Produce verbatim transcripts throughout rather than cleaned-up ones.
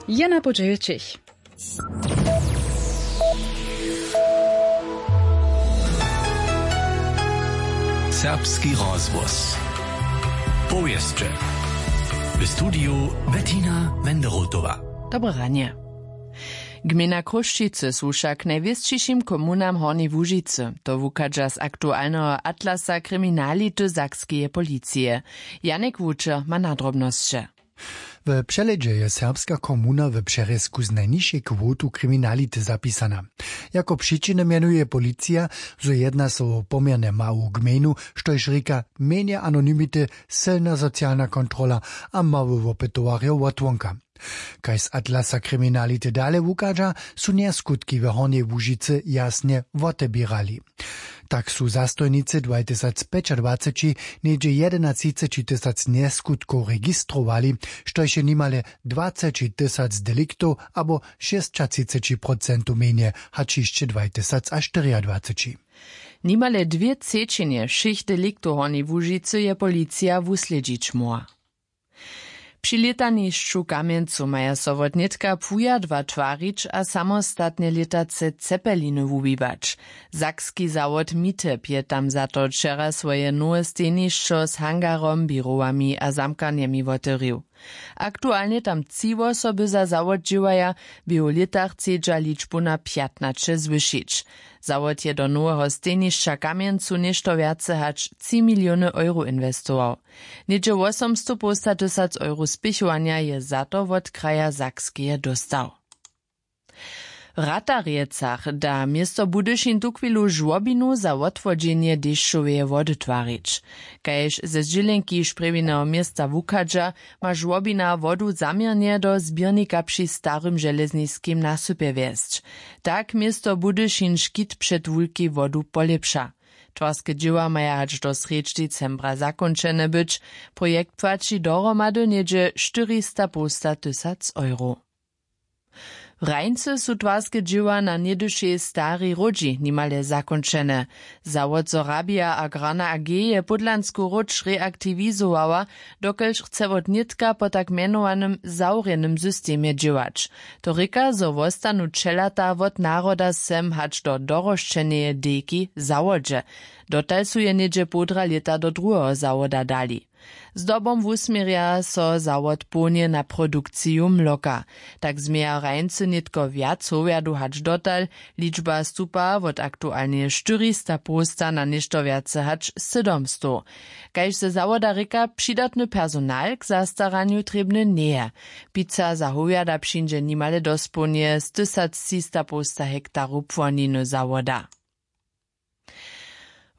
Je na podźeju ćich. Serbski rozhłos. Powěsće. W studiju Bettina Wenderotowa. Dobre ranje. Gmejna Chrósćicy słuša k najwěsćišim komunam Hornjeje Łužicy. To wuchadźa z aktualneho atlasa kriminality sakskeje policije. Janik Wučer ma nadrobnosće. W přehlědźe je serbska komuna w přerězku z najnižšej kwotu kriminality zapisana. Jako přičiny mjenuje policija, zo jedna so wo poměrnje mału gmejnu, štož rěka mjenje anonymity, sylna socialna kontrola a mało wopytowarjow wotwonka. Kaž z atlasa kriminality dale wuchadźa, su njaskutki w Hornjej Łužicy jasnje woteběrali. Tak su zastojnicy dwajtysacpjećadwaceći něhdźe jedenatřiceći tysac njeskutkow registrowali, štož je nimale dwacećitysac deliktow abo šěsćatřiceći procentow mjenje hač hišće dwajtysacaštyriadwaceći. Nimale dwě třećinje wšěch deliktow w Hornjej Łužicy je policija wuslědźić móhła. Při lětanišću w Kamjencu maja so wot nětka płujadła twarić a samostatnje lětace cepeliny wuwiwać. Sakski zawod Miteb je tam za to wčera swoje nowe stejnišćo z hangarom, běrowami a zamkarnjemi wotewrił. Aktualnje tam tři wosoby za zawod dźěłaja, w běhu lěta chcedźa ličbu na pjatnaće zwyšić. Zawod je do noweho stejnišća w Kamjencu něšto wjace hač tři miliony euro inwestował. Něhdźe wosomstopołstatysac euro spěchowanja je za to wot kraja Sakskeje dóstał. W Ratarjecach da město Budyšin tuchwilu žłobinu za wotwodźenje dešćoweje wody twarić. Kaž ze zdźělenki šprjewineho města wuchadźa, ma žłobina wodu zaměrnje do zběrnika při starym železniskim nasypje wjesć. Tak město Budyšin škit před wulkej wodu polěpša. Twarske dźěła maja hač do srjedź decembra zakónčene być. Projekt płaći dohromady něhdźe štyrista połstatysac euro. W Hrańcy su twarske dźěła na něhdyšej starej hródźi nimale zakónčene. Zawod Sorabia Agrarna A G je pódlansku hródź reaktiwizowała, dokelž chce wot nětka po tak mjenowanym zawrjenym systemje dźěłać. To rěka, zo wostanu ćelata wot naroda sem hač do dorosćeneje dejki w zawodźe. Dotal su je něhdźe połdra lěta do druheho zawoda dali. Zdobom wusměrja so zawod połnje na produkciju mloka. Tak změja Hrańcy nětko wjac howjadow hač dotal. Ličba stupa wot aktualneje štyrista połsta na něšto wjace hač sydomstow. Kaž ze zawoda rěka, přidatny personal k zastaranju trěbny njeje. Pica za howjada přińdźe nimale dospołnje z tysactřista połsta hektarow płoniny zawoda.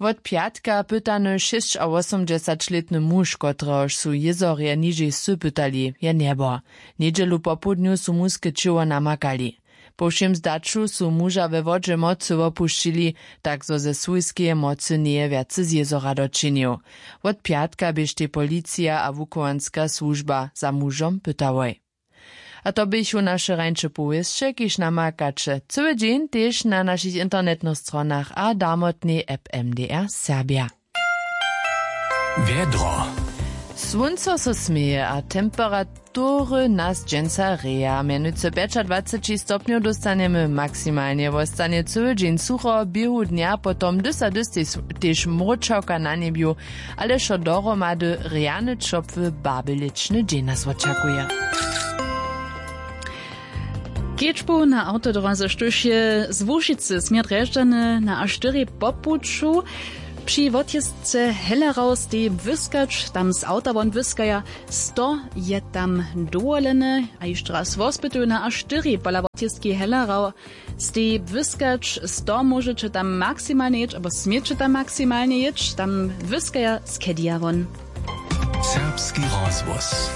Wot pjatka pytany šěsćawosomdźesaćlětny muž, kotrehož su jězorje nižej wsy pytali, je njebor. Njedźelu popołdnju su muske ćěło namakali. Po wšěm zdaću su muža we wodźe mocy wopušćili, tak zo ze swójskeje mocy njeje wjace z jězora dočinił. Wot pjatka běštej policija a wuchowanska słužba za mužom pytałoj. A to běchu naše rańše powěsće, kiž namakaće cyły dźeń tež na našich internetnych stronach a damotnej app M D R Serbja. Wjedro. Słónco so směje a temperatury nas dźensa reja. Mjenujcy pjećadwaceći stopnjow dóstanjemy maksimalnje. Wostanje cyły dźeń sucho, běhu dnja potom dysa dys tež, tež mróčawka na njebju, ale wšo dohromady rjany ćopły, babyličny dźeń nas wočakuje. Kedźbu na awtodróze, štóž je z Łužicy směr Drježdźany na A štyri po puću, při wotjězce Hellerau steji błyskać, tam z awta won błyskaja, sto je tam dowolene. A hišće raz wospytuju, na A štyri pola wotjězki Hellerau steji błyskać, sto móžeće tam maksimalnje jěć abo směće tam maksimalnje jěć, tam błyskaja z kedija won. Serbski rozhłos.